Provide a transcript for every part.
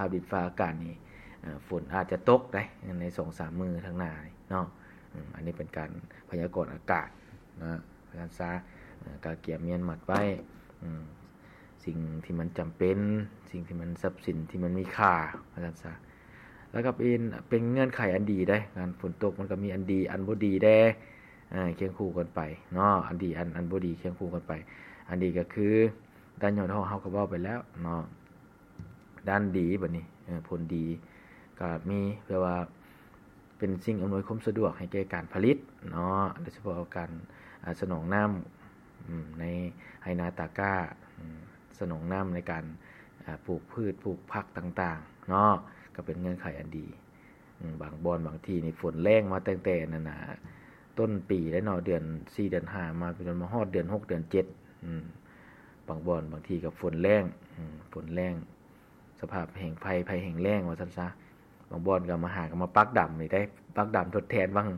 ພາບດິນຟ້າອາກາດນີ້ ເອີ ຝົນອາດຈະຕົກໄດ໋ໃນສອງສາມມື້ທາງໜ້ານີ້ເນາະ. ເອີ ອັນນີ້ເປັນການພະຍາກອນອາກາດເນາະ ວ່າຊັ້ນຊະ. ເອີ ກະກຽມມ້ຽນມັດໄວ້ ເອີ ສິ່ງທີ່ມັນຈຳເປັນ, ສິ່ງທີ່ມັນ ຊັບສິນທີ່ມັນມີຄ່າ ວ່າຊັ້ນຊະ. ແລ້ວກໍເປັນ ເປັນເງື່ອນໄຂອັນດີເດ້. ການຝົນຕົກມັນກໍມີອັນດີອັນບໍ່ດີແດ່ ເອີ ຄຽງຄູ່ກັນໄປເນາະ. ອັນດີ ອັນ ອັນບໍ່ດີຄຽງຄູ່ກັນໄປ. ອັນດີກໍຄືດ້ານຍອດຮອກເຮົາກໍເວົ້າໄປແລ້ວເນາະ. ດ້ານດີບັດນີ້ ເອີ ຜົນດີກໍມີ ແປວ່າເປັນສິ່ງອຳນວຍຄວາມສະດວກໃຫ້ແກ່ການຜະລິດເນາະ, ໂດຍສະເພາະການ ອາ ສະໜອງນ້ຳ ອາ ໃນໄຮ່ນາຕາກ້າ ອາ ສະໜອງນ້ຳໃນການ ອາ ປູກພືດ ປູກຜັກຕ່າງໆເນາະ ກໍເປັນເງື່ອນໄຂອັນດີ. ອາ ບາງບ່ອນບາງທີ່ນີ້ຝົນແລ້ງມາຕັ້ງແຕ່ນັ້ນນະ ຕົ້ນປີແລ້ວເນາະ, ເດືອນສີ່ເດືອນຫ້າມາ ຈົນມາຮອດເດືອນຫົກເດືອນເຈັດ ອາ ບາງບ່ອນບາງທີ່ກໍຝົນແລ້ງ ອາ ຝົນແລ້ງ ສະພາບແຫ້ງໄພ ໄພແຫ້ງແລ້ງວ່າຊັ້ນຊະ. ບາງບ່ອນກໍມາຫາ ກໍມາປັກດຳນີ້ໄດ໋ ປັກດຳທົດແທນຫວ່າງ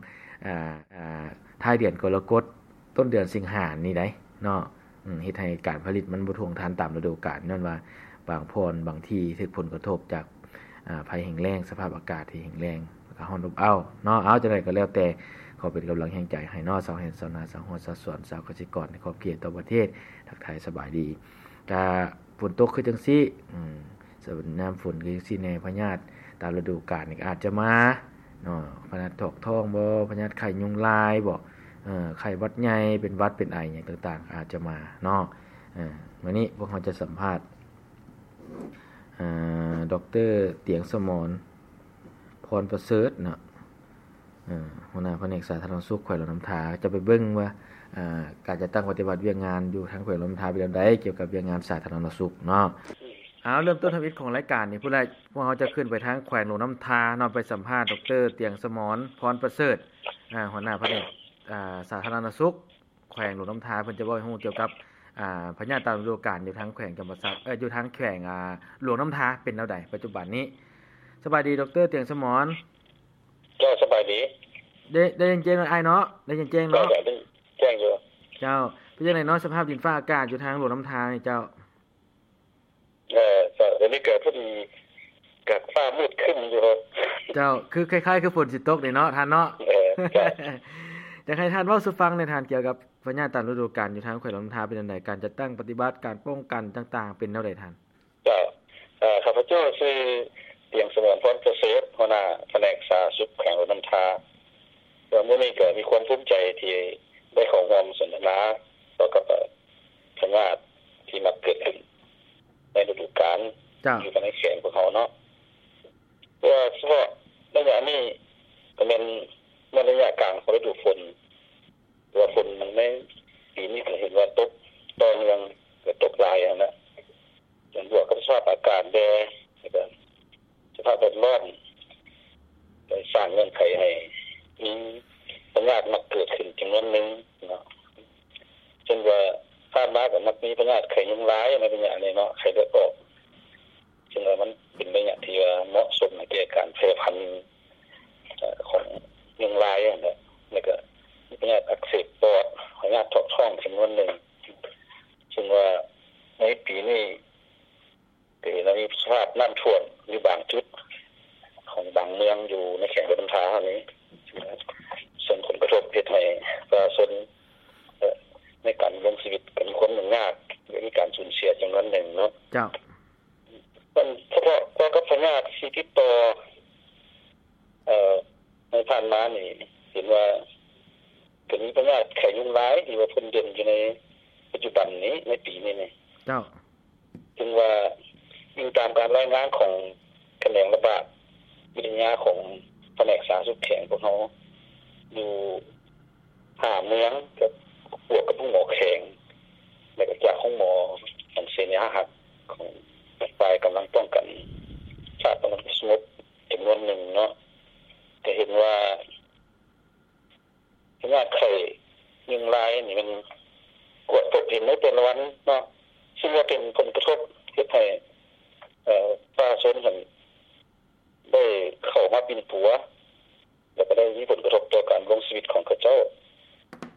ອາ ອາ ທ້າຍເດືອນກໍລະກົດ ຕົ້ນເດືອນສິງຫານີ້ໄດ໋ເນາະ. ອາ ເຮັດໃຫ້ການຜະລິດມັນບໍ່ທ່ວງທັນຕາມລະດູການ ຍ້ອນວ່າບາງບ່ອນບາງທີ່ຖືກຜົນກະທົບຈາກ ອາ ໄພແຫ້ງແລ້ງ ສະພາບອາກາດທີ່ແຫ້ງແລ້ງ ແລ້ວກໍຮ້ອນອົບອ້າວເນາະ. ເອົາ ຈັ່ງໃດກໍແລ້ວແຕ່ ຂໍເປັນກຳລັງແຮງໃຈໃຫ້ເນາະ ຊາວໄຮ່ຊາວນາ ຊາວຮົ້ວຊາວສວນ ຊາວກະສິກອນໃນຂອບເຂດທົ່ວປະເທດ. ທັກທາຍສະບາຍດີ. ກະຝົນຕົກຄືຈັ່ງຊີ້ ອາ ຍາມຝົນຄືຈັ່ງຊີ້ແດ່ ພະຍາດຕາມລະດູການນີ້ກໍອາດຈະມາເນາະ, ພະຍາດຖອກທ້ອງບໍ ພະຍາດໄຂ້ຍຸງລາຍບໍ ເອີ ໄຂ້ຫວັດໃຫຍ່ ເປັນຫວັດເປັນໄອຫຍັງຕ່າງໆ ອາດຈະມາເນາະ. ເອີ ມື້ນີ້ພວກເຮົາຈະສຳພາດ ອາ ດອກເຕີ ຕຽງສະໝອນ ພອນປະເສີດເນາະ ເອີ ຫົວໜ້າພະແນກສາທາລະນະສຸກແຂວງຫຼວງນ້ຳທາ ຈະໄປເບິ່ງວ່າ ອາ ການຈັດຕັ້ງປະຕິບັດວຽກງານຢູ່ທາງແຂວງຫຼວງນ້ຳທາເປັນແນວໃດ ກ່ຽວກັບວຽກງານສາທາລະນະສຸກເນາະ. ເອົາ ເລີ່ມຕົ້ນທຳອິດຂອງລາຍການນີ້ພຸ້ນແຫຼະ ພວກເຮົາຈະຂຶ້ນໄປທາງແຂວງຫຼວງນ້ຳທາເນາະ ໄປສຳພາດ ດອກເຕີ ຕຽງສະໝອນ ພອນປະເສີດ ອາ ຫົວໜ້າພະແນກ ອາ ສາທາລະນະສຸກ ແຂວງຫຼວງນ້ຳທາ ເພິ່ນຈະເວົ້າໃຫ້ຮູ້ກ່ຽວກັບ ອາ ພະຍາດຕາມລະດູການຢູ່ທາງແຂວງຈຳປາສັກ ເອີ ຢູ່ທາງແຂວງ ອາ ຫຼວງນ້ຳທາເປັນແນວໃດປັດຈຸບັນນີ້. ສະບາຍດີ ດອກເຕີ ຕຽງສະໝອນ. ເຈົ້າ ສະບາຍດີ. ໄດ້ ໄດ້ຍິນແຈ້ງເນາະ ອ້າຍເນາະ? ໄດ້ຍິນແຈ້ງເນາະ? ເຈົ້າ ໄດ້ແຈ້ງຢູ່. ເຈົ້າ ເປັນຈັ່ງໃດເນາະ ສະພາບດິນຟ້າອາກາດຢູ່ທາງຫຼວງນ້ຳທານີ້ເຈົ້າ? ເອີ ກໍດຽວນີ້ກໍພໍດີກໍຟ້າມືດຄຶ້ມຢູ່. ເຈົ້າ ຄືຄ້າຍໆຄືຝົນຊິຕົກນີ້ເນາະທ່ານເນາະ. ເອີ ເຈົ້າ ຢາກໃຫ້ທ່ານເວົ້າສູ່ຟັງແດ່ທ່ານ ກ່ຽວກັບພະຍາດຕາມລະດູການຢູ່ທາງແຂວງຫຼວງນ້ຳທາເປັນຈັ່ງໃດ? ການຈັດຕັ້ງປະຕິບັດ ການປ້ອງກັນຕ່າງໆ ເປັນແນວໃດທ່ານ? ເຈົ້າ ເອີ ຂ້າພະເຈົ້າຊື່ ຕຽງສະໝອນ ພອນປະເສີດ ຫົວໜ້າພະແນກສາທາລະນະສຸກແຂວງຫຼວງນ້ຳທາ. ກໍມື້ນີ້ກໍມີຄວາມພູມໃຈທີ່ໄດ້ເຂົ້າຮ່ວມສົນທະນາກ່ຽວກັບ ເອີ ພະຍາດທີ່ມັກເກີດຂຶ້ນໃນລະດູການ ເຈົ້າ ຢູ່ພາຍໃນແຂວງພວກເຮົາເນາະ. ເພາະວ່າສະເພາະໄລຍະນີ້ກໍແມ່ນ ແມ່ນໄລຍະກາງຂອງລະດູຝົນ ເພາະວ່າຝົນໃນປີນີ້ກໍເຫັນວ່າຕົກຕໍ່ເນື່ອງ ກໍຕົກຫຼາຍຫັ້ນນະ, ບວກກັບສະພາບອາກາດແດ່ ແລ້ວກໍສະພາບແວດລ້ອມ ໄດ້ສ້າງເງື່ອນໄຂໃຫ້ມີພະຍາດມັກເກີດຂຶ້ນຈຳນວນໜຶ່ງເນາະ. ເຊັ່ນວ່າຜ່ານມາກໍມັກມີພະຍາດໄຂ້ຍຸງລາຍໃນໄລຍະນີ້ເນາະ, ໄຂ້ເລືອດອອກ. ເຊິ່ງວ່າມັນເປັນໄລຍະທີ່ວ່າເໝາະສົມໃຫ້ແກ່ການແຜ່ພັນ ເອີ ຂອງຍຸງລາຍຫັ້ນແຫຼະ, ແລ້ວກໍມີພະຍາດອັກເສບປອດ, ພະຍາດຖອກທ້ອງຈຳນວນໜຶ່ງ. ເຊິ່ງວ່າໃນປີນີ້ກໍເຫັນວ່າມີສະພາບນ້ຳຖ້ວມຢູ່ບາງຈຸດຂອງບາງເມືອງຢູ່ໃນແຂວງຫຼວງນ້ຳທາເຮົານີ້, ເຊິ່ງຜົນກະທົບເຮັດໃຫ້ປະຊາຊົນ ເອີ ໃນການດຳລົງຊີວິດກໍມີຄວາມຫຍຸ້ງຍາກ ແລະ ມີການສູນເສຍຈຳນວນໜຶ່ງເນາະ. ເຈົ້າ. ມັນສະເພາະກ່ຽວກັບພະຍາດທີ່ຕິດຕໍ່ ເອີ ໃນຜ່ານມານີ້ ເຫັນວ່າກໍມີພະຍາດໄຂ້ຍຸງລາຍທີ່ວ່າພົ້ນເດັ່ນຢູ່ໃນປັດຈຸບັນນີ້ ໃນປີນີ້ນີ້. ເຈົ້າ. ເຊິ່ງວ່າອີງຕາມການລາຍງານຂອງຂະແໜງລະບາດວິທະຍາຂອງພະແນກສາທາລະນະສຸກແຂວງພວກເຮົາ ຢູ່ ຫ້າເມືອງ ກັບ ບວກກັບໂຮງໝໍແຂວງ ແລະ ກໍຈາກໂຮງໝໍອັນເສນາອາຮັກຂອງຝ່າຍກຳລັງປ້ອງກັນຊາດ ປ້ອງກັນຄວາມສະຫງົບຈຳນວນໜຶ່ງເນາະ, ຈະເຫັນວ່າພະຍາດໄຂ້ຍຸງລາຍນີ້ມັນກວດພົບເຫັນໃນແຕ່ລະວັນເນາະ, ເຊິ່ງວ່າເປັນຜົນກະທົບເຮັດໃຫ້ ເອີ ປະຊາຊົນຫັ້ນໄດ້ເຂົ້າມາປິ່ນປົວ ແລ້ວກໍໄດ້ມີຜົນກະທົບຕໍ່ການດຳລົງຊີວິດຂອງເຂົາເຈົ້າ.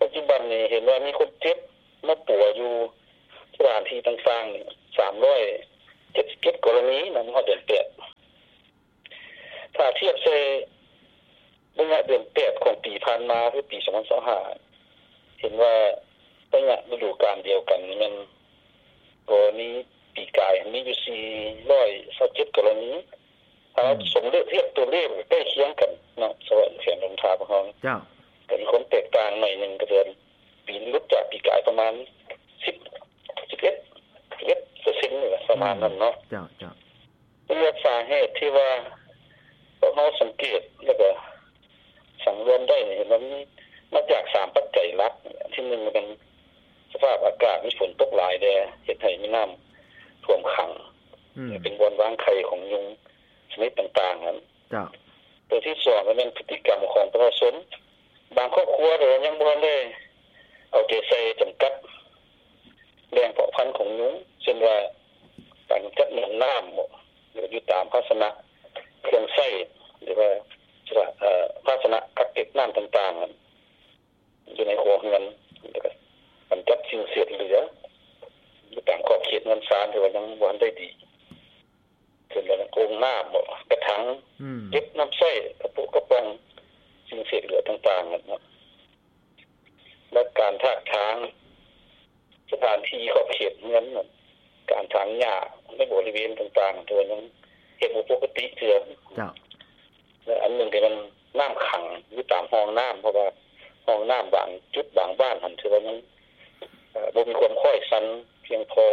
ປັດຈຸບັນນີ້ເຫັນວ່າມີຄົນເຈັບມາປົວຢູ່ສະຖານທີ່ຕ່າງໆ ສາມຮ້ອຍເຈັດສິບເຈັດກໍລະນີນະ ຮອດເດືອນແປດ. ຖ້າທຽບໃສ່ໄລຍະເດືອນແປດຂອງປີຜ່ານມາ ຄືປີສອງພັນຊາວຫ້າ ເຫັນວ່າໄລຍະລະດູການດຽວກັນນີ້ແມ່ນກໍມີ ປີກາຍມີຢູ່ສີ່ຮ້ອຍຊາວເຈັດກໍລະນີ. ຖ້າເຮົາ ອືມ ສົມເລກ ທຽບຕົວເລກໃກ້ຄຽງກັນເນາະ ສະເພາະແຂວງຫຼວງນ້ຳທາຂອງເຮົາ ເຈົ້າ ກໍມີຄວາມແຕກຕ່າງໜ້ອຍໜຶ່ງ ກໍຄືປີນີ້ຫຼຸດຈາກປີກາຍປະມານສິບ ສິບເອັດ ສິບເອັດເປີເຊັນນີ້ແຫຼະ ປະມານນັ້ນເນາະ. ເຈົ້າ ເຈົ້າ ສາເຫດທີ່ວ່າພວກເຮົາສັງເກດ ແລ້ວກໍສັງລວມໄດ້ນີ້ ເຫັນວ່າມີມາຈາກສາມປັດໄຈຫຼັກ. ອັນທີໜຶ່ງແມ່ນສະພາບອາກາດມີຝົນຕົກຫຼາຍແດ່ ເຮັດໃຫ້ມີນ້ຳຖ້ວມຂັງ ອືມ ເປັນບ່ອນວາງໄຂ່ຂອງຍຸງຊະນິດຕ່າງໆຫັ້ນ. ເຈົ້າ ຕົວທີສອງກໍແມ່ນພຶດຕິກຳຂອງປະຊາຊົນ ບາງຄອບຄົວກໍຍັງບໍ່ທັນໄດ້ເອົາໃຈໃສ່ຈຳກັດແຫຼ່ງເພາະພັນຂອງຍຸງ ເຊັ່ນວ່າການກຳຈັດໜອນນ້ຳບໍ ຫຼືຢູ່ຕາມພາຊະນະເຄື່ອງໃຊ້ ຫຼືວ່າ ເອີ ພາຊະນະກັກເກັບນ້ຳຕ່າງໆ ຢູ່ໃນຄົວເຮືອນ ແລ້ວກໍກຳຈັດສິ່ງເສດເຫຼືອຢູ່ຕາມຂອບເຂດເຮືອນຊານ ຖືວ່າຍັງບໍ່ທັນໄດ້ດີ ເຊັ່ນວ່າໂອ່ງນ້ຳບໍ ກະຖັງ ອືມ ເກັບນ້ຳໃຊ້ ກະປຸກະປ໋ອງ ສິ່ງເສດເຫຼືອຕ່າງໆນັ້ນເນາະ ແລະ ການຖາກຖາງສະຖານທີ່ຂອບເຂດເຮືອນນັ້ນ ການຖາງຫຍ້າໃນບໍລິເວນຕ່າງໆ ຖືວ່າຍັງເຮັດບໍ່ປົກກະຕິເທື່ອ. ເຈົ້າ ແລະ ອັນໜຶ່ງກໍແມ່ນນ້ຳຂັງຢູ່ຕາມຮ່ອງນ້ຳ ເພາະວ່າຮ່ອງນ້ຳບາງຈຸດບາງບ້ານຫັ້ນ ຖືວ່າຍັງ ເອີ ບໍ່ມີຄວາມຄ້ອຍຊັນພຽງພໍ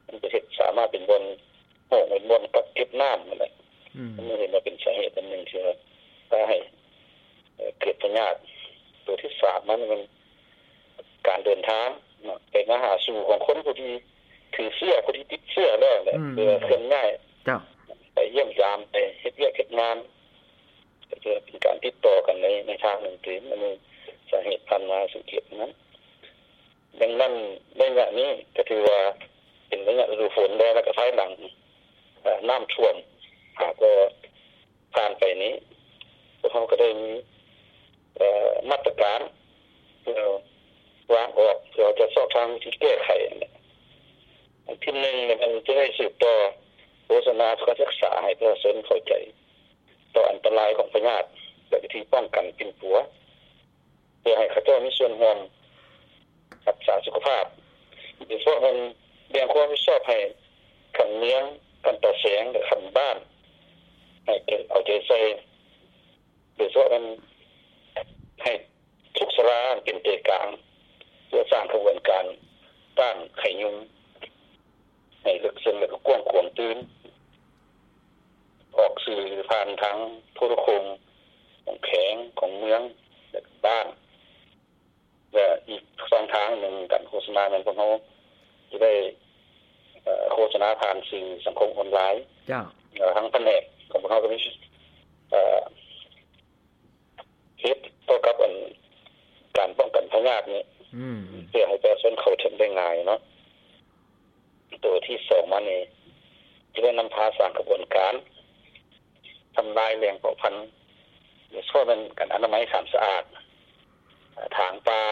ມັນຈະເຮັດສາມາດເປັນບ່ອນ ໂຮງເປັນບ່ອນກັກເກັບນ້ຳນັ້ນແຫຼະ. ອືມ ມັນເຫັນວ່າເປັນສາເຫດອັນໜຶ່ງທີ່ວ່າພາໃຫ້ ເອີ ເກີດພະຍາດ. ຕົວທີສາມ ມັນແມ່ນການເດີນທາງເນາະ ໄປມາຫາສູ່ຂອງຄົນຜູ້ທີ່ຖືເຊື້ອ ຜູ້ທີ່ຕິດເຊື້ອແລ້ວແຫຼະ ອືມ ເພື່ອເຄື່ອນຍ້າຍ ເຈົ້າ ໄປຢ້ຽມຢາມ ໄປເຮັດວຽກເຮັດງານ ກໍຈະເປັນການຕິດຕໍ່ກັນໃນ ໃນທາງໜຶ່ງຕື່ມ. ອັນນີ້ສາເຫດຜ່ານມາສັງເກດນັ້ນ. ດັ່ງນັ້ນ ໄລຍະນີ້ກໍຖືວ່າເປັນໄລຍະລະດູຝົນແລ້ວ ແລ້ວກໍພາຍຫຼັງ ເອີ ນ້ຳຖ້ວມຫາກໍຜ່ານໄປນີ້ ພວກເຮົາກໍໄດ້ມີ ເອີ ມາດຕະການເພື່ອວາງອອກ ເພື່ອຈະຊອກທາງວິທີແກ້ໄຂນັ້ນແຫຼະ. ອັນທີໜຶ່ງ ແມ່ນຈະໄດ້ສືບຕໍ່ໂຄສະນາການສຶກສາໃຫ້ປະຊາຊົນເຂົ້າໃຈຕໍ່ອັນຕະລາຍຂອງພະຍາດ ແລະ ວິທີປ້ອງກັນປິ່ນປົວ ເພື່ອໃຫ້ເຂົາເຈົ້າມີສ່ວນຮ່ວມຮັກສາສຸຂະພາບ ໂດຍສະເພາະແມ່ນແບ່ງຄວາມຮັບຜິດຊອບໃຫ້ຂັ້ນເມືອງ, ຂັ້ນຕາແສງ ແລະ ຂັ້ນບ້ານ ໃຫ້ເອົາໃຈໃສ່ ໂດຍສະເພາະແມ່ນໃຫ້ທຸກສາລາເປັນໃຈກາງ ເພື່ອສ້າງຂະບວນການຕ້ານໄຂ້ຍຸງໃຫ້ເລິກເຊິ່ງ ແລະ ກໍກວ້າງຂວາງຕື່ມ. ອອກສື່ຜ່ານທາງໂທລະໂຄ່ງຂອງແຂວງ, ຂອງເມືອງ ແລະ ບ້ານ ແລະ ອີກຊ່ອງທາງໜຶ່ງການໂຄສະນາແມ່ນພວກເຮົາຈະໄດ້ ເອີ ໂຄສະນາຜ່ານສື່ສັງຄົມອອນລາຍ. ເຈົ້າ. ເອີ ທາງພະແນກຂອງພວກເຮົາກໍມີ ເອີ ເຮັດຕໍ່ກັບອັນການປ້ອງກັນພະຍາດນີ້ ອືມ ເພື່ອໃຫ້ປະຊາຊົນເຂົ້າເຖິງໄດ້ງ່າຍເນາະ. ຕົວທີສອງມານີ້ ຈະໄດ້ນຳພາສ້າງຂະບວນການທຳລາຍແຫຼ່ງເພາະພັນ ໂດຍສະເພາະແມ່ນການອະນາໄມສາມສະອາດ, ຖາງປ່າ,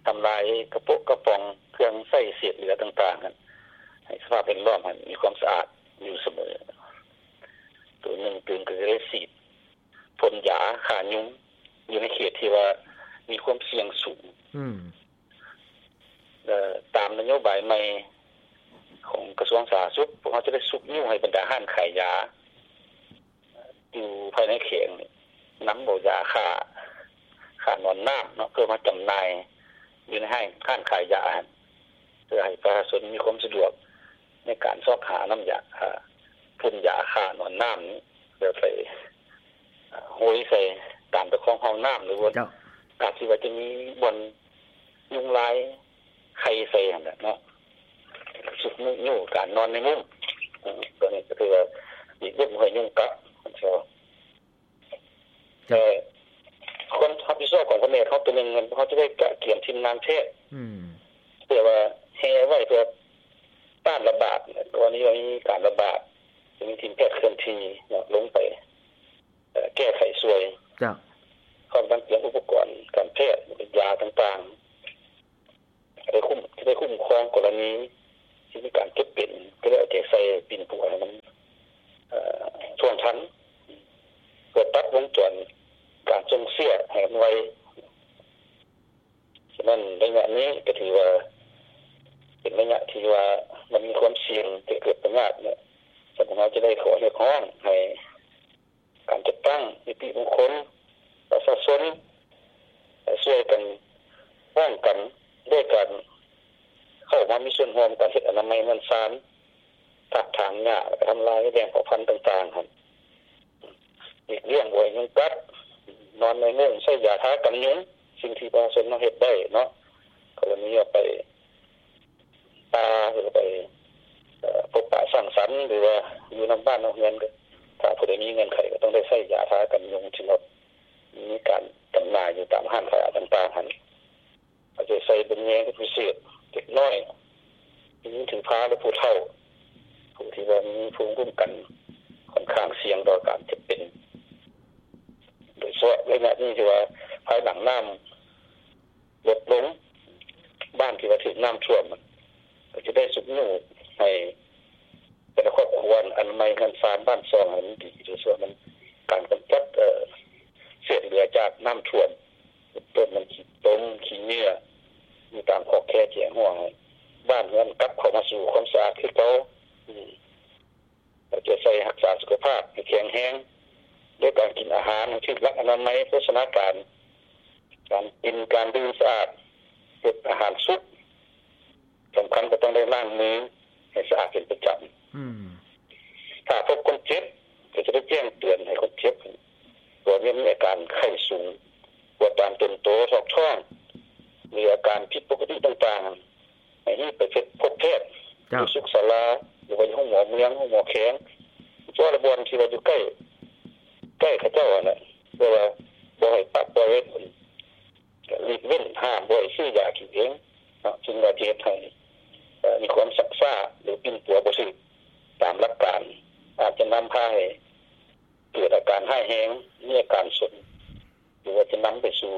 ທຳລາຍກະໂປະກະປ໋ອງ, ເຄື່ອງໃຊ້ເສດເຫຼືອຕ່າງໆ ໃຫ້ສະພາບແວດລ້ອມຫັ້ນມີຄວາມສະອາດຢູ່ສະເໝີ. ຕົວໜຶ່ງຕື່ມກໍຈະໄດ້ສີດ ພົ່ນຢາຂ້າຍຸງຢູ່ໃນເຂດທີ່ວ່າມີຄວາມສ່ຽງສູງ. ອືມ ເອີ ຕາມນະໂຍບາຍໃໝ່ຂອງກະຊວງສາທາລະນະສຸກ, ພວກເຮົາຈະໄດ້ຊຸກຍູ້ໃຫ້ບັນດາຮ້ານຂາຍຢາຢູ່ພາຍໃນແຂວງນີ້ ນຳເອົາຢາຂ້າ ຂ້າໜອນນ້ຳເນາະ ເພື່ອມາຈຳໜ່າຍຢູ່ໃນຮ້ານ ຮ້ານຂາຍຢາຫັ້ນ ເພື່ອໃຫ້ປະຊາຊົນມີຄວາມສະດວກ ໃນການຊອກຫານ້ຳຢາ ອ່າ ຝຸ່ນຢາຂ້າໜອນນ້ຳນີ້ ແລ້ວໄປ ອ່າ ໂຮຍໃສ່ຕາມຕະຄອງຫ້ອງນ້ຳ ຫຼືວ່າ ເຈົ້າ ອາດຊິວ່າຈະມີບ່ອນຍຸງລາຍໄຂ່ໃສ່ຫັ້ນແຫຼະເນາະ ຊຸກຍູ້ການນອນໃນມຸ້ງ. ອືມ ຕົວນີ້ກໍຖືວ່າຫຼີກເວັ້ນບໍ່ໃຫ້ຍຸງກັດ. ເຈົ້າ. ເອີ ຄວາມຮັບຜິດຊອບຂອງພະແນກເຮົາຕົວໜຶ່ງ ເຮົາຈະໄດ້ກະກຽມທີມງານແພດ ອືມ ເພື່ອວ່າແຮ່ໄວ້ເພື່ອຕ້ານລະບາດ ກໍລະນີວ່າມີການລະບາດ ຈະມີທີມແພດເຄື່ອນທີ່ເນາະ ລົງໄປ ເອີ ແກ້ໄຂຊ່ວຍ. ເຈົ້າ. ພ້ອມທັງກຽມອຸປະກອນການແພດ ຢາຕ່າງໆ ຈະໄດ້ຄຸ້ມ ຈະໄດ້ຄຸ້ມຄອງກໍລະນີທີ່ມີການເຈັບເປັນ ຈະໄດ້ເອົາໃຈໃສ່ປິ່ນປົວໃຫ້ມັນ ເອີ ທົ່ວ ວົງຈອນການສົ່ງເຊື້ອໃຫ້ມັນໄວ. ສະນັ້ນໄລຍະນີ້ກໍຖືວ່າເປັນໄລຍະທີ່ວ່າມັນມີຄວາມສ່ຽງຈະເກີດພະຍາດເນາະ. ສະນັ້ນເຮົາຈະໄດ້ຂໍຮຽກຮ້ອງໃຫ້ການຈັດຕັ້ງນິຕິບຸກຄົນ ປະຊາຊົນ ຊ່ວຍກັນປ້ອງກັນດ້ວຍການເຂົ້າມາມີສ່ວນຮ່ວມການເຮັດອະນາໄມເຮືອນຊານ ຖາກຖາງຫຍ້າ ແລ້ວກໍທຳລາຍແຫຼ່ງເຜົ່າພັນຕ່າງໆຫັ້ນ. ຫຼີກລ້ຽງບໍ່ໃຫ້ຍຸງກັດ, ນອນໃນມຸ້ງ, ໃຊ້ຢາທາກັນຍຸງ, ສິ່ງທີ່ປະຊາຊົນເຮົາເຮັດໄດ້ເນາະ. ກໍລະນີວ່າໄປປ່າ ຫຼືໄປ ເອີ ພົບປະສັງສັນ ຫຼືວ່າຢູ່ນຳບ້ານນຳເຮືອນ ກໍຖ້າຜູ້ໃດມີເງື່ອນໄຂກໍຕ້ອງໄດ້ໃຊ້ຢາທາກັນຍຸງ ທີ່ວ່າມີການຈຳໜ່າຍຢູ່ຕາມຮ້ານຂາຍອາຫານຕ່າງໆຫັ້ນ. ເອົາໃຈໃສ່ເບິ່ງແຍງເປັນພິເສດ ເດັກນ້ອຍ, ຜູ້ຍິງຖືພາ ແລະ ຜູ້ເຖົ້າ ຜູ້ທີ່ວ່າມີພູມຄຸ້ມກັນຂ້ອນຂ້າງສ່ຽງຕໍ່ການເຈັບເປັນ, ໂດຍສະເພາະໄລຍະນີ້ທີ່ວ່າພາຍຫຼັງນ້ຳລົດລົງ, ບ້ານທີ່ວ່າຖືກນ້ຳຖ້ວມ ກໍຈະໄດ້ຊຸກຍູ້ໃຫ້ແຕ່ລະຄອບຄົວອະນາໄມເຮືອນຊານບ້ານຊ່ອງໃຫ້ມັນດີ, ໂດຍສະເພາະມັນການກຳຈັດ ເອີ ເສດເຫຼືອຈາກນ້ຳຖ້ວມ ເປັນຕົ້ນແມ່ນຂີ້ຕົມ ຂີ້ເຫຍື້ອ ຢູ່ຕາມຂອບແຄແຈງຫ້ວຍ, ບ້ານເຮືອນກັບເຂົ້າມາສູ່ຄວາມສະອາດຄືເກົ່າ. ອືມ ເອົາໃຈໃສ່ຮັກສາສຸຂະພາບໃຫ້ແຂງແຮງ ດ້ວຍການກິນອາຫານໃຫ້ຖືກຫຼັກອະນາໄມໂພຊະນາການ, ການກິນການດື່ມສະອາດ, ເຮັດອາຫານສຸກ, ສຳຄັນກໍຕ້ອງໄດ້ລ້າງມືໃຫ້ສະອາດເປັນປະຈຳ. ອືມ ຖ້າພົບຄົນເຈັບ ກໍຈະໄດ້ແຈ້ງເຕືອນໃຫ້ຄົນເຈັບ ຕົວະເມັນມີອາການໄຂ້ສູງ, ປວດຕາມຕົນໂຕ, ຖອກທ້ອງ ຫຼືອາການຜິດປົກກະຕິຕ່າງໆ ໃຫ້ຮີບໄປພົບແພດ ເຈົ້າ ຢູ່ສຸກສາລາ ຫຼືວ່າຢູ່ໂຮງໝໍເມືອງ, ໂຮງໝໍແຂວງ, ເພາະວ່າບ່ອນທີ່ວ່າຢູ່ໃກ້ ໃກ້ເຂົາເຈົ້າຫັ້ນແຫຼະ, ແຕ່ວ່າບໍ່ໃຫ້ປະປ່ອຍໄວ້ດົນ, ຫຼີກເວັ້ນ ຫ້າມບໍ່ໃຫ້ຊື້ຢາກິນເອງເນາະ, ຈຶ່ງວ່າຈະເຮັດໃຫ້ ເອີ ມີຄວາມຊັກຊ້າ ຫຼືປິ່ນປົວບໍ່ຖືກຕາມຫຼັກການ, ອາດຈະນຳພາໃຫ້ເກີດອາການຮ້າຍແຮງ, ມີອາການສົນ ຫຼືວ່າຈະນຳໄປສູ່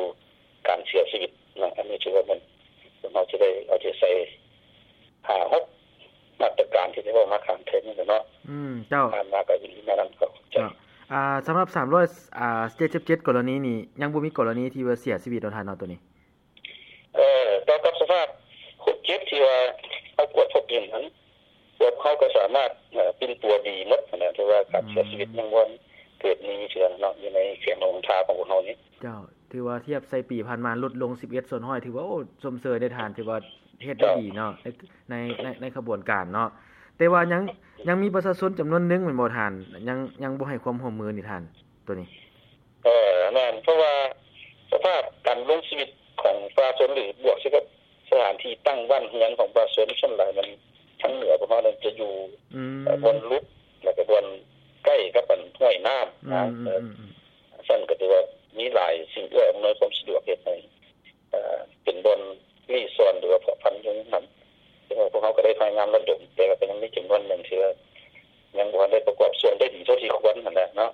ການເສຍຊີວິດເນາະ. ອັນນີ້ຖືວ່າແມ່ນພວກເຮົາຈະໄດ້ເອົາໃຈໃສ່ ຫ້າຫົກມາດຕະການທີ່ໄດ້ເວົ້າມາຂ້າງເທິງນີ້ແຫຼະເນາະ. ອືມ ເຈົ້າ ຜ່ານມາກໍຢູ່ທີ່ແນວນັ້ນກໍເຂົ້າໃຈ. ເຈົ້າ ອ່າ ສຳລັບສາມຮ້ອຍ ອ່າ ເຈັດສິບເຈັດກໍລະນີນີ້ ຍັງບໍ່ມີກໍລະນີທີ່ວ່າເສຍຊີວິດເນາະທ່ານເນາະ ໂຕນີ້. ເອີ ຕໍ່ກັບສະພາບຄົນເຈັບທີ່ວ່າເຮົາກວດພົບເຫັນນັ້ນ ພວກເຮົາກໍສາມາດ ເອີ ປິ່ນປົວດີໝົດຫັ້ນນະ, ຖືວ່າການເສຍຊີວິດ ອືມ ຍັງບໍ່ເກີດມີເທື່ອເນາະ ຢູ່ໃນແຂວງຫຼວງນ້ຳທາຂອງພວກເຮົານີ້. ເຈົ້າ ຖືວ່າທຽບໃສ່ປີຜ່ານມາ ຫຼຸດລົງສິບເອັດສ່ວນຮ້ອຍ ຖືວ່າ ໂອ້ ຊົມເຊີຍເດ້ທ່ານ, ຖືວ່າເຮັດໄດ້ ເຈົ້າ ດີເນາະ ໃນ ໃນ ໃນ ໃນຂະບວນການເນາະ. ແຕ່ວ່າຍັງ ຍັງມີປະຊາຊົນຈຳນວນໜຶ່ງແມ່ນບໍ່ທ່ານ ຍັງ ຍັງບໍ່ໃຫ້ຄວາມຮ່ວມມືນີ້ທ່ານ ໂຕນີ້? ເອີ ແມ່ນ, ເພາະວ່າສະພາບການດຳລົງຊີວິດຂອງປະຊາຊົນ ຫຼື ບວກໃສ່ກັບສະຖານທີ່ຕັ້ງບ້ານເຮືອນຂອງປະຊາຊົນ ສ່ວນຫຼາຍມັນທາງເໜືອພວກເຮົານັ້ນຈະຢູ່ ອືມ ເອີ ບ່ອນຫຼຸດ ແລ້ວກໍບ່ອນໃກ້ກັບອັນຫ້ວຍນ້ຳນະ. ອືມ ເອີ ອືມ ອືມ ຊັ້ນກໍຖືວ່າມີຫຼາຍສິ່ງເອື້ອອຳນວຍຄວາມສະດວກ ເຮັດໃຫ້ ເອີ ເປັນບ່ອນລີ້ຊ່ອນ ຫຼືວ່າເພາະພັນຢູ່ນັ້ນ. ແຕ່ວ່າພວກເຮົາກໍໄດ້ພະຍາຍາມລະດົມ, ແຕ່ວ່າກໍຍັງມີຈຳນວນໜຶ່ງທີ່ວ່າຍັງບໍ່ທັນໄດ້ປະກອບສ່ວນໄດ້ດີເທົ່າທີ່ຄວນຫັ້ນແຫຼະເນາະ.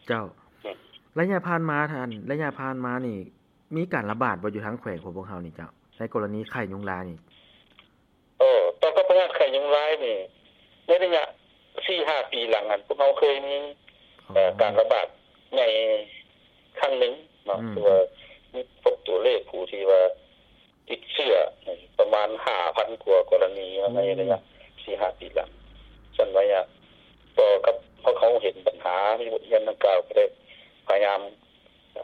ເຈົ້າ ອືມ ໄລຍະຜ່ານມາທ່ານ ໄລຍະຜ່ານມານີ້ ມີການລະບາດບໍ່ຢູ່ທາງແຂວງຂອງພວກເຮົານີ້ເຈົ້າ ໃນກໍລະນີໄຂ້ຍຸງລາຍນີ້? ເອີ ຕໍ່ກັບພະຍາດໄຂ້ຍຸງລາຍນີ້ ໃນໄລຍະສີ່ຫ້າປີຫຼັງຫັ້ນ ພວກເຮົາເຄີຍມີ ອໍ ເອີ ການລະບາດໃຫຍ່ຄັ້ງໜຶ່ງເນາະ ອືມ ຄືວ່າມີພົບຕົວເລກຜູ້ທີ່ວ່າຕິດເຊື້ອປະມານຫ້າພັນກວ່າກໍລະນີ ໂອ້ ໃນໄລຍະສີ່ຫ້າປີຫຼັງ. ຊັ້ນໄລຍະຕໍ່ກັບພວກເຮົາເຫັນບັນຫາ ມີບົດຮຽນດັ່ງກ່າວ ກໍໄດ້ພະຍາຍາມ ເອີ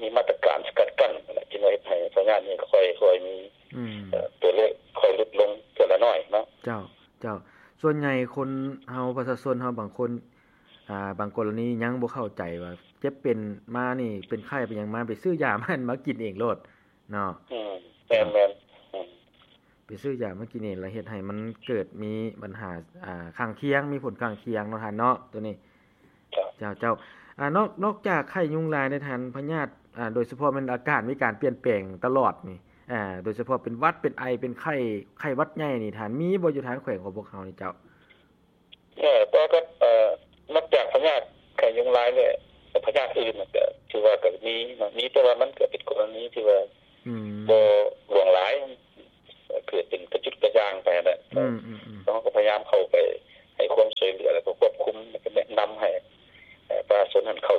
ມີມາດຕະການສະກັດກັ້ນຫັ້ນແຫຼະ ຈຶ່ງວ່າເຮັດໃຫ້ພະຍາດນີ້ຄ່ອຍໆມີ ອືມ ເອີ ຕົວເລກຄ່ອຍຫຼຸດລົງເທື່ອລະໜ້ອຍເນາະ. ເຈົ້າ ເຈົ້າ ສ່ວນໃຫຍ່ຄົນເຮົາ ປະຊາຊົນເຮົາບາງຄົນ ອ່າ ບາງກໍລະນີຍັງບໍ່ເຂົ້າໃຈວ່າເຈັບເປັນມານີ້ ເປັນໄຂ້ເປັນຫຍັງມາ ໄປຊື້ຢາມາ ມາກິນເອງໂລດເນາະ. ອືມ ແມ່ນໆ ອືມ ໄປຊື້ຢາມາກິນເອງ ແລ້ວເຮັດໃຫ້ມັນເກີດມີບັນຫາ ອ່າ ຂ້າງຄຽງ ມີຜົນຂ້າງຄຽງເນາະທ່ານເນາະ ໂຕນີ້. ເຈົ້າ ເຈົ້າ ເຈົ້າ ອ່າ ນອກ ນອກຈາກໄຂ້ຍຸງລາຍໃນທ່ານ ພະຍາດ ອ່າ ໂດຍສະເພາະແມ່ນອາກາດມີການປ່ຽນແປງຕະຫຼອດນີ້ ອ່າ ໂດຍສະເພາະເປັນຫວັດ ເປັນໄອ ເປັນໄຂ້ ໄຂ້ຫວັດໃຫຍ່ນີ້ ທ່ານມີບໍ່ຢູ່ທາງແຂວງຂອງພວກເຮົານີ້ເຈົ້າ? ເອີ ຕໍ່ກັບ ເອີ ນອກຈາກພະຍາດໄຂ້ຍຸງລາຍແລ້ວ ພະຍາດອື່ນມັນກໍຖືວ່າກໍມີເນາະ ມີ ແຕ່ວ່າມັນກໍເປັນກໍລະນີທີ່ວ່າ ອືມ ບໍ່ຫຼວງຫຼາຍ ເກີດເປັນກະຈຸດກະຢ່າງໄປຫັ້ນແຫຼະ. ອືມໆໆ ເຮົາກໍພະຍາຍາມເຂົ້າໄປໃຫ້ຄວາມຊ່ວຍເຫຼືອ ແລ້ວກໍຄວບຄຸມ ແລ້ວກໍແນະນຳໃຫ້ ເອີ ປະຊາຊົນຫັ້ນເຂົ້າ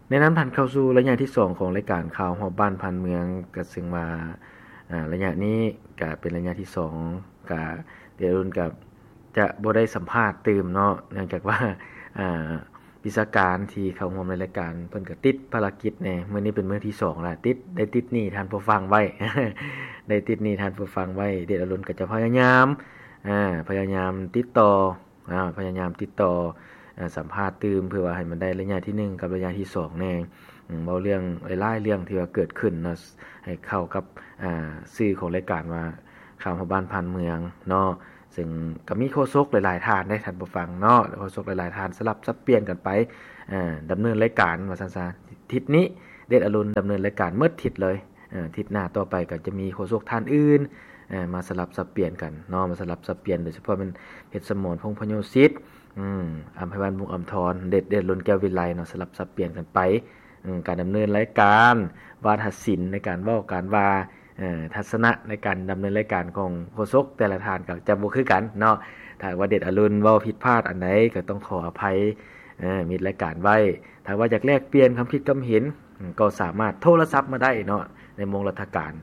ແນະນຳທ່ານເຂົ້າສູ່ໄລຍະທີສອງຂອງລາຍການຂ່າວຮອບບ້ານຜ່ານເມືອງ ກໍເຊິ່ງວ່າ ອ່າ ໄລຍະນີ້ກໍເປັນໄລຍະທີສອງ ກໍເດດອະລຸນກໍຈະບໍ່ໄດ້ສຳພາດຕື່ມເນາະ ເນື່ອງຈາກວ່າ ອ່າ ວິຊາການທີ່ເຂົ້າຮ່ວມໃນລາຍການເພິ່ນກໍຕິດພາລະກິດແດ່ ມື້ນີ້ເປັນມື້ທີສອງລະ ຕິດ ໄດ້ຕິດໜີ້ທ່ານຜູ້ຟັງໄວ້ ໄດ້ຕິດໜີ້ທ່ານຜູ້ຟັງໄວ້ ເດດອະລຸນກໍຈະພະຍາຍາມ ອ່າ ພະຍາຍາມຕິດຕໍ່ ອ່າ ພະຍາຍາມຕິດຕໍ່ ເອີ ສຳພາດຕື່ມ ເພື່ອວ່າໃຫ້ມັນໄດ້ໄລຍະທີໜຶ່ງກັບໄລຍະທີສອງແດ່ ອືມ ເວົ້າເລື່ອງຫຼາຍໆເລື່ອງທີ່ວ່າເກີດຂຶ້ນເນາະ ໃຫ້ເຂົ້າກັບ ອ່າ ຊື່ຂອງລາຍການວ່າຂ່າວຮອບບ້ານຜ່ານເມືອງເນາະ ເຊິ່ງກໍມີໂຄສົກຫຼາຍໆທ່ານເດ້ທ່ານຜູ້ຟັງເນາະ ໂຄສົກຫຼາຍໆທ່ານສະຫຼັບສັບປ່ຽນກັນໄປ ອ່າ ດຳເນີນລາຍການວ່າຊັ້ນຊະ ທິດນີ້ເດດອະລຸນດຳເນີນລາຍການໝົດທິດເລີຍ ເອີ ທິດໜ້າຕໍ່ໄປກໍຈະມີໂຄສົກທ່ານອື່ນ ເອີ ມາສະຫຼັບສັບປ່ຽນກັນເນາະ ມາສະຫຼັບສັບປ່ຽນ ໂດຍສະເພາະແມ່ນເພັດສະໝອນ ພົງພະໂຍສິດ ອຳໄພວັນ ວົງອຳທອນ, ເດດ ເດດລຸນ ແກ້ວວິໄລເນາະ, ສະຫຼັບສັບປ່ຽນກັນໄປ. ອືມ ການດຳເນີນລາຍການ ວາທະສິນໃນການເວົ້າການວ່າ, ເອີ ທັດສະນະໃນການດຳເນີນລາຍການຂອງໂຄສົກແຕ່ລະທ່ານກໍຈະບໍ່ຄືກັນເນາະ. ຖ້າວ່າເດດອະລຸນເວົ້າຜິດພາດອັນໃດກໍຕ້ອງຂໍອະໄພ ເອີ ມິດລາຍການໄວ້. ຖ້າວ່າຢາກແລກປ່ຽນຄຳຄິດຄຳເຫັນ ອືມ ກໍສາມາດໂທລະສັບມາໄດ້ເນາະ ໃນໂມງລັດຖະການ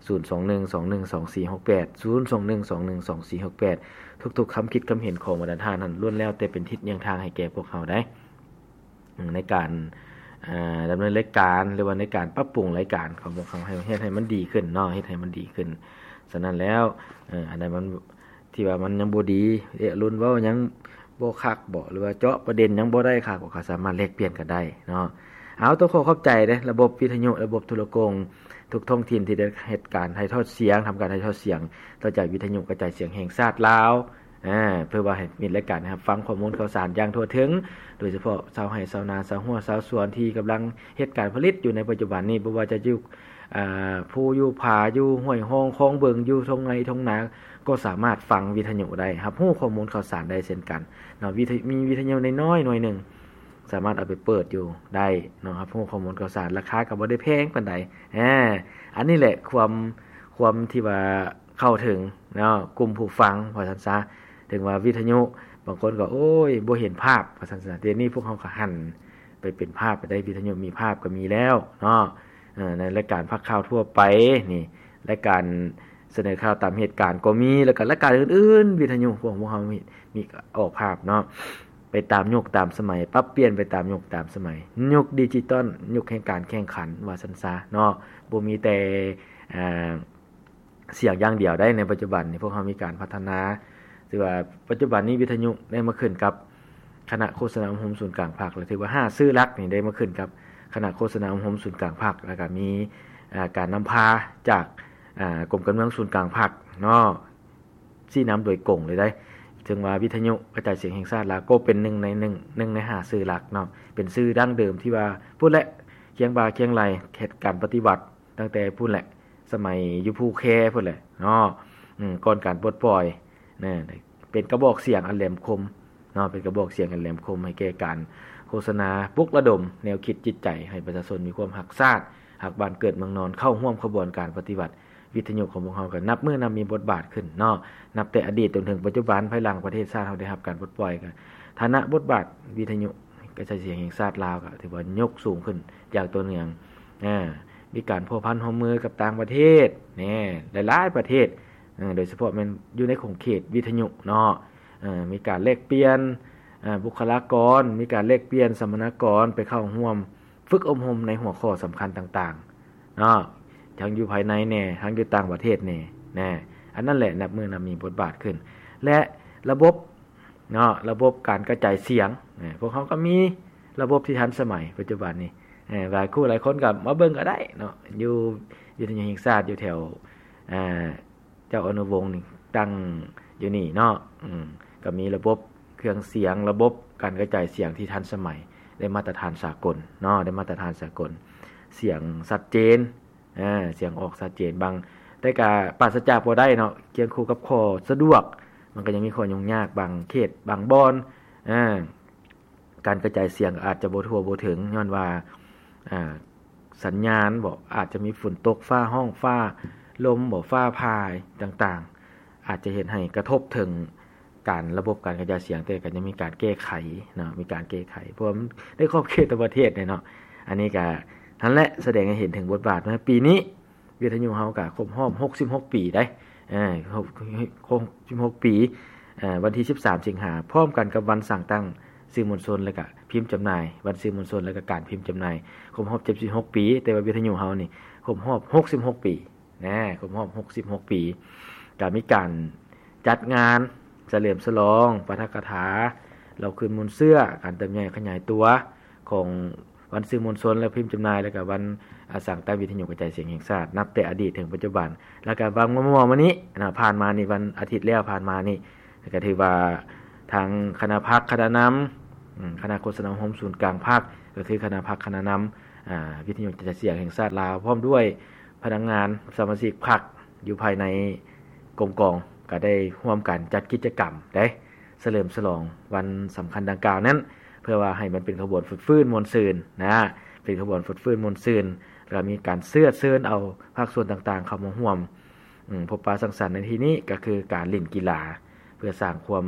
ສູນສອງໜຶ່ງສອງໜຶ່ງສອງສີ່ຫົກແປດ ສູນສອງໜຶ່ງສອງໜຶ່ງສອງສີ່ຫົກແປດ. ທຸກໆຄຳຄິດຄຳເຫັນຂອງບັນດາທ່ານນັ້ນ ລ້ວນແລ້ວແຕ່ເປັນທິດຍ່າງທາງໃຫ້ແກ່ພວກເຮົາໄດ໋ ໃນການ ເອີ ດຳເນີນລາຍການ ຫຼືວ່າໃນການປັບປຸງລາຍການຂອງພວກເຮົາ ໃຫ້ເຮັດໃຫ້ມັນດີຂຶ້ນເນາະ, ເຮັດໃຫ້ມັນດີຂຶ້ນ. ສະນັ້ນແລ້ວ ເອີ ອັນໃດມັນ ທີ່ວ່າມັນຍັງບໍ່ດີ ເອະ ລຸນເວົ້າຍັງບໍ່ຄັກບໍ ຫຼືວ່າເຈາະປະເດັນຍັງບໍ່ໄດ້ຄັກບໍ ກໍສາມາດແລກປ່ຽນກັນໄດ້ເນາະ. ເອົາ ຕ້ອງຂໍຂອບໃຈເດ້ ລະບົບວິທະຍຸ ລະບົບໂທລະໂກງ ທຸກທ້ອງຖິ່ນທີ່ໄດ້ເຮັດການຖ່າຍທອດສຽງ, ທຳການຖ່າຍທອດສຽງຕໍ່ຈາກວິທະຍຸກະຈາຍສຽງແຫ່ງຊາດລາວ ອາ ເພື່ອວ່າໃຫ້ມີລາຍການໃຫ້ຮັບຟັງຂໍ້ມູນຂ່າວສານຢ່າງທົ່ວເຖິງ, ໂດຍສະເພາະຊາວໄຮ່ຊາວນາ, ຊາວຮົ້ວຊາວສວນທີ່ກຳລັງເຮັດການຜະລິດຢູ່ໃນປັດຈຸບັນນີ້, ບໍ່ວ່າຈະຢູ່ ອາ ພູຢູ່ຜາ ຢູ່ຫ້ວຍຮ່ອງຄອງເບິ່ງ ຢູ່ທົ່ງໄຮ່ທົ່ງນາ ກໍສາມາດຟັງວິທະຍຸໄດ້, ຮັບຮູ້ຂໍ້ມູນຂ່າວສານໄດ້ເຊັ່ນກັນເນາະ. ວິທະ ມີວິທະຍຸນ້ອຍໆໜ່ວຍໜຶ່ງ ສາມາດເອົາໄປເປີດຢູ່ໄດ້ເນາະ, ຮັບຮູ້ຂໍ້ມູນຂ່າວສານ, ລາຄາກໍບໍ່ໄດ້ແພງປານໃດ. ອາ ອັນນີ້ແຫຼະຄວາມ ຄວາມທີ່ວ່າເຂົ້າເຖິງເນາະ ກຸ່ມຜູ້ຟັງ ວ່າຊັ້ນຊະ. ເຖິງວ່າວິທະຍຸ ບາງຄົນກໍ ໂອ້ຍ ບໍ່ເຫັນພາບ ວ່າຊັ້ນຊະ. ດຽວນີ້ພວກເຮົາກໍຫັນ ໄປເປັນພາບໄປໄດ້, ວິທະຍຸມີພາບກໍມີແລ້ວເນາະ. ເອີ ໃນລາຍການພາກຂ່າວທົ່ວໄປນີ້ ລາຍການສະເໜີຂ່າວຕາມເຫດການກໍມີ, ແລ້ວກໍລາຍການອື່ນໆ ວິທະຍຸຂອງພວກເຮົາມີ ມີອອກພາບເນາະ, ໄປຕາມຍຸກຕາມສະໄໝ, ປັບປ່ຽນໄປຕາມຍຸກຕາມສະໄໝ. ຍຸກດິຈິຕອນ, ຍຸກແຫ່ງການແຂ່ງຂັນ ວ່າຊັ້ນຊະເນາະ. ບໍ່ມີແຕ່ ອ່າ ສຽງຢ່າງດຽວໄດ໋. ໃນປັດຈຸບັນນີ້ພວກເຮົາມີການພັດທະນາ, ຖືວ່າປັດຈຸບັນນີ້ວິທະຍຸໄດ້ມາຂຶ້ນກັບຄະນະໂຄສະນາອົບຮົມສູນກາງພັກ, ແລະ ຖືວ່າຫ້າຊື່ຫຼັກນີ້ໄດ້ມາຂຶ້ນກັບຄະນະໂຄສະນາອົບຮົມສູນກາງພັກ, ແລ້ວກໍມີ ອ່າ ການນຳພາຈາກ ອ່າ ກົມການເມືອງສູນກາງພັກເນາະ, ຊີ້ນຳໂດຍກົງເລີຍໄດ໋. ເຖິງວ່າວິທະຍຸກະຈາຍສຽງແຫ່ງຊາດລາວກໍເປັນໜຶ່ງໃນ ໜຶ່ງ ໜຶ່ງໃນຫ້າຊື່ຫຼັກເນາະ, ເປັນຊື່ດັ້ງເດີມທີ່ວ່າພຸ້ນແຫຼະ ຄຽງບ່າຄຽງໄຫຼ່ເຮັດການປະຕິວັດ ຕັ້ງແຕ່ພຸ້ນແຫຼະ ສະໄໝຢູ່ພູແຄພຸ້ນແຫຼະເນາະ, ອືມ ກ່ອນການປົດປ່ອຍນະ, ເປັນກະບອກສຽງອັນແຫຼມຄົມເນາະ, ເປັນກະບອກສຽງອັນແຫຼມຄົມໃຫ້ແກ່ການໂຄສະນາ ປຸກລະດົມແນວຄິດຈິດໃຈໃຫ້ປະຊາຊົນມີຄວາມຮັກຊາດ, ຮັກບ້ານເກີດເມືອງນອນ, ເຂົ້າຮ່ວມຂະບວນການປະຕິວັດ. ວິທະຍຸຂອງພວກເຮົາກໍນັບມື້ນັບມີບົດບາດຂຶ້ນເນາະ, ນັບແຕ່ອະດີດຈົນເຖິງປັດຈຸບັນ, ພາຍຫຼັງປະເທດຊາດເຮົາໄດ້ຮັບການປົດປ່ອຍ, ກໍຖານະບົດບາດວິທະຍຸກະຈາຍສຽງແຫ່ງຊາດລາວ ກໍຖືວ່າຍົກສູງຂຶ້ນຢ່າງຕໍ່ເນື່ອງ. ອາ ມີການພົວພັນຮ່ວມມືກັບຕ່າງປະເທດແນ່ ຫຼາຍໆປະເທດ, ເອີ ໂດຍສະເພາະແມ່ນຢູ່ໃນຂົງເຂດວິທະຍຸເນາະ, ເອີ ມີການແລກປ່ຽນ ອາ ບຸກຄະລາກອນ, ມີການແລກປ່ຽນສຳມະນາກອນໄປເຂົ້າຮ່ວມຝຶກອົບຮົມໃນຫົວຂໍ້ສຳຄັນຕ່າງໆເນາະ, ທັງຢູ່ພາຍໃນແນ່ ທັງຢູ່ຕ່າງປະເທດແນ່ ແນ່. ອັນນັ້ນແຫຼະ ນັບມື້ນັບມີບົດບາດຂຶ້ນ ແລະ ລະບົບ ເນາະ ລະບົບການກະຈາຍສຽງ, ເອີ ພວກເຮົາກໍມີລະບົບທີ່ທັນສະໄໝປັດຈຸບັນນີ້, ເອີ ຫຼາຍຄູ່ຫຼາຍຄົນກໍມາເບິ່ງກໍໄດ້ເນາະ, ຢູ່ວິທະຍຸແຫ່ງຊາດ ຢູ່ແຖວ ອ່າ ເຈົ້າອະນຸວົງນີ້ ຕັ້ງຢູ່ນີ້ເນາະ, ອືມ ກໍມີລະບົບເຄື່ອງສຽງ, ລະບົບການກະຈາຍສຽງທີ່ທັນສະໄໝ, ໄດ້ມາດຕະຖານສາກົນເນາະ, ໄດ້ມາດຕະຖານສາກົນ, ສຽງຊັດເຈນ ອາ ສຽງອອກຊັດເຈນ. ບາງ ແຕ່ກະປາສະຈາກບໍ່ໄດ້ເນາະ, ຄຽງຄູ່ກັບຂໍ້ສະດວກ ມັນກໍຍັງມີຂໍ້ຫຍຸ້ງຍາກ ບາງເຂດ ບາງບ່ອນ ອາ ການກະຈາຍສຽງອາດຈະບໍ່ທົ່ວບໍ່ເຖິງ ຍ້ອນວ່າ ອາ ສັນຍານບໍ ອາດຈະມີຝົນຕົກ ຟ້າຮ້ອງ ຟ້າລົມບໍ ຟ້າຜ່າຕ່າງໆ ອາດຈະເຮັດໃຫ້ກະທົບເຖິງ ການ ລະບົບການກະຈາຍສຽງ, ແຕ່ກໍຍັງມີການແກ້ໄຂເນາະ, ມີການແກ້ໄຂ ເພາະວ່າໃນຂອບເຂດຕ່າງປະເທດເນາະ. ອັນນີ້ກໍນັ້ນແຫຼະ ສະແດງໃຫ້ເຫັນເຖິງບົດບາດວ່າ ປີນີ້ວິທະຍຸເຮົາກໍຄົບຮອບຫົກສິບຫົກປີໄດ໋, ເອີ ຄົບ ຄົບຫົກສິບຫົກປີ ເອີ ວັນທີສິບສາມສິງຫາ ພ້ອມກັນກັບວັນສ້າງຕັ້ງສື່ມວນຊົນ ແລະກະພິມຈຳໜ່າຍ, ວັນສື່ມວນຊົນ ແລະກະການພິມຈຳໜ່າຍ ຄົບຮອບເຈັດສິບຫົກປີ, ແຕ່ວ່າວິທະຍຸເຮົານີ້ຄົບຮອບຫົກສິບຫົກປີ. ນະ ຄົບຮອບຫົກສິບຫົກປີ ກະມີການຈັດງານສະເຫຼີມສະຫຼອງປາຖະກະຖາ ເລົ່າຄືນມູນເຊື້ອ ການເຕີບໃຫຍ່ຂະຫຍາຍຕົວຂອງວັນສື່ມວນຊົນ ແລະ ພິມຈຳໜ່າຍ ແລະກະວັນ ອາ ສ້າງຕັ້ງວິທະຍຸກະຈາຍສຽງແຫ່ງຊາດ ນັບແຕ່ອະດີດເຖິງປັດຈຸບັນ. ແລະກະຫວ່າງມໍ່ໆມານີ້ນະ ຜ່ານມານີ້ ວັນອາທິດແລ້ວຜ່ານມານີ້ ກະຖືວ່າທາງຄະນະພັກຄະນະນຳ ອາ ຄະນະໂຄສະນາອົບຮົມສູນກາງພັກ ກະຄືຄະນະພັກຄະນະນຳ ອາ ວິທະຍຸກະຈາຍສຽງແຫ່ງຊາດລາວ ພ້ອມດ້ວຍພະນັກງານສະມາຊິກພັກຢູ່ພາຍໃນກົມກອງ ກະໄດ້ຮ່ວມກັນຈັດກິດຈະກຳເດ້ ສະເຫຼີມສະຫຼອງວັນສຳຄັນດັ່ງກ່າວນັ້ນ ເພື່ອວ່າໃຫ້ມັນເປັນຂະບວນຟົດຟື້ນມ່ວນຊື່ນນະ, ເປັນຂະບວນຟົດຟື້ນມ່ວນຊື່ນ ແລ້ວກໍມີການເຊື້ອເຊີນເອົາພາກສ່ວນຕ່າງໆເຂົ້າມາຮ່ວມ ອືມ ພົບປະສັງສັນໃນທີ່ນີ້ກໍຄືການຫຼິ້ນກິລາ ເພື່ອສ້າງຄວາມ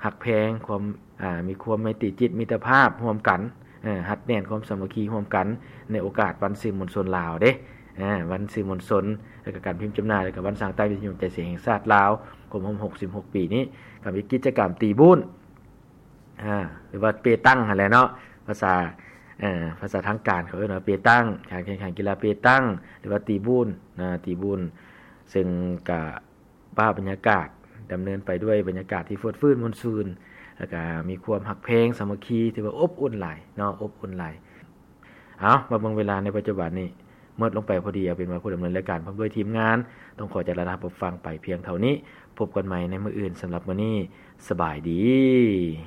ຮັກແພງ ຄວາມ ອ່າ ມີຄວາມໄມຕີຈິດມິດຕະພາບຮ່ວມກັນ ເອີ ຮັດແໜ້ນຄວາມສາມັກຄີຮ່ວມກັນ ໃນໂອກາດວັນສື່ມວນຊົນລາວເດ້ ເອີ ວັນສື່ມວນຊົນ ແລ້ວກໍການພິມຈຳໜ່າຍ ແລ້ວກໍວັນສ້າງໃຕ້ວິທະຍຸກະຈາຍສຽງແຫ່ງຊາດລາວ ຄົບຮອບຫົກສິບຫົກປີນີ້ ກໍມີກິດຈະກຳຕີບູນ ອ່າ ຫຼືວ່າເປຕັງຫັ້ນແຫຼະເນາະ ພາສາ ເອີ ພາສາທາງການເຂົາເອີ້ນວ່າເປຕັງ ການແຂ່ງຂັນກິລາເປຕັງ ຫຼືວ່າຕີບູນນະ ຕີບູນ ເຊິ່ງກະພາບບັນຍາກາດດຳເນີນໄປດ້ວຍບັນຍາກາດທີ່ຟົດຟື້ນມ່ວນຊື່ນ ແລ້ວກະມີຄວາມຮັກແພງສາມັກຄີ ຖືວ່າອົບອຸ່ນຫຼາຍເນາະ ອົບອຸ່ນຫຼາຍ. ເອົາ ມາເບິ່ງເວລາໃນປັດຈຸບັນນີ້ ໝົດລົງໄປພໍດີ ເອົາເປັນວ່າຜູ້ດຳເນີນລາຍການພ້ອມດ້ວຍທີມງານ ຕ້ອງຂໍຈາລານາຮັບຟັງໄປພຽງເທົ່ານີ້. ພົບກັນໃໝ່ໃນມື້ອື່ນ. ສຳລັບມື້ນີ້ ສະບາຍດີ.